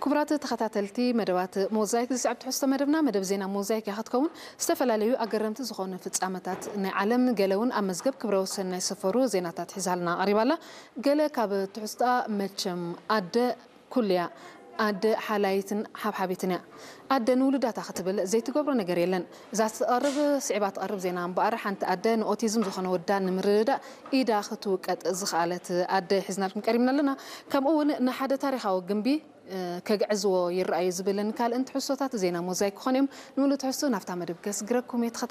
ክቡራት ተኸታተልቲ መደባት ሞዛይክ፣ ዝስዕብ ትሕዝቶ መደብና መደብ ዜና ሞዛይክ እያ ክትከውን። ዝተፈላለዩ ኣገረምቲ ዝኾኑ ፍጻመታት ናይ ዓለም፣ ገለ እውን ኣብ መዝገብ ክብረ ወሰን ናይ ሰፈሩ ዜናታት ሒዛልና ቀሪባላ። ገለ ካብ ትሕዝቶኣ መቸም ኣደ ኩልያ ኣደ ሓላይትን ሓብሓቢትን እያ። ኣደ ንውሉዳታ ክትብል ዘይትገብሮ ነገር የለን። እዛ ትቐርብ ስዒባ ትቐርብ ዜና እምበኣር፣ ሓንቲ ኣደ ንኦቲዝም ዝኾነ ወዳ ንምርድዳእ ኢዳ ክትውቀጥ ዝኸኣለት ኣደ ሒዝናልኩም ቀሪብና ኣለና። ከምኡ እውን ንሓደ ታሪኻዊ ግንቢ ከግዕዝዎ ይረኣዩ ዝብልን ካልእን ትሕዝቶታት ዜና ሞዛይክ ክኾኑ እዮም። ንምሉእ ትሕዝቶ ናብታ መደብ ከስግረኩም እየ።